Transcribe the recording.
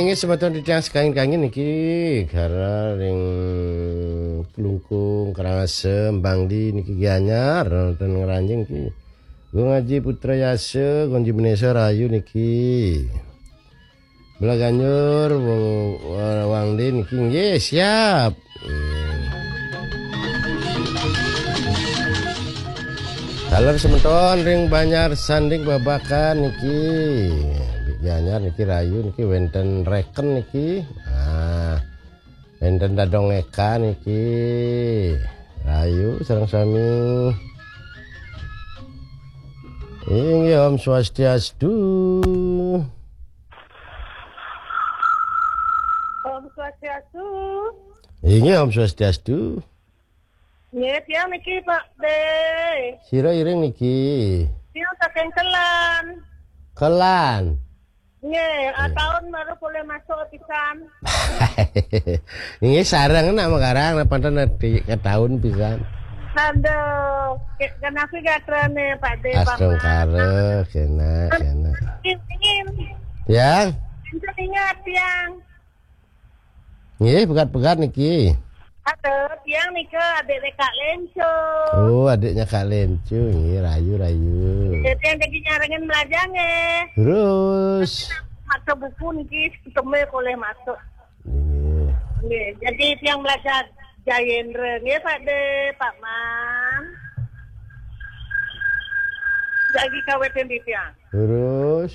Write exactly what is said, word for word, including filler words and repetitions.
Nggih, semeton titiang sekangin-kangin niki, Gara ring Klungkung, Karangasem, Bangli niki Gianyar, ten Ngranjing niki. Gung Aji Putra Yasa, Gung Aji Menesa Rayu niki. Belaganjur, Wang, Wangli niki nggih siap. Hmm. Taler semeton ring Banjar Sanding Babakan niki. Banjar niki Rayu niki wenten Reken niki. Nah, wenten Dadong Eka niki. Rayu sareng sami. Inggih, Om Swastiastu. Om Swastiastu. Inggih, Om Swastiastu. Nggih, tiang niki Pak De. Sira iring niki. Tiang saking Kelan. Kelan. Nggih, ah, tahun baru boleh masuk pisan. Inggih, sareng nak makarang, nak panten nanti ke tahun pisan. Aduh, ke- kenapa gatrane Pak De, Pak Astungkara, kena, kena. Ingin, ingin. Ya, Ingin ingat tiang. Nggih, pegat-pegat niki. Aduh, tiang nika adik Kak Lenco. Oh, adiknya Kak Lencu, nggih, Rayu, Rayu. Jadi yang jadi nyarengin belajar nggih. Terus, Maca buku niki ketemu boleh masuk. nggih. Nggih, jadi tiang belajar Jayendra nggih Pak De, Pak Man. Jadi kawetin di tiang. Terus,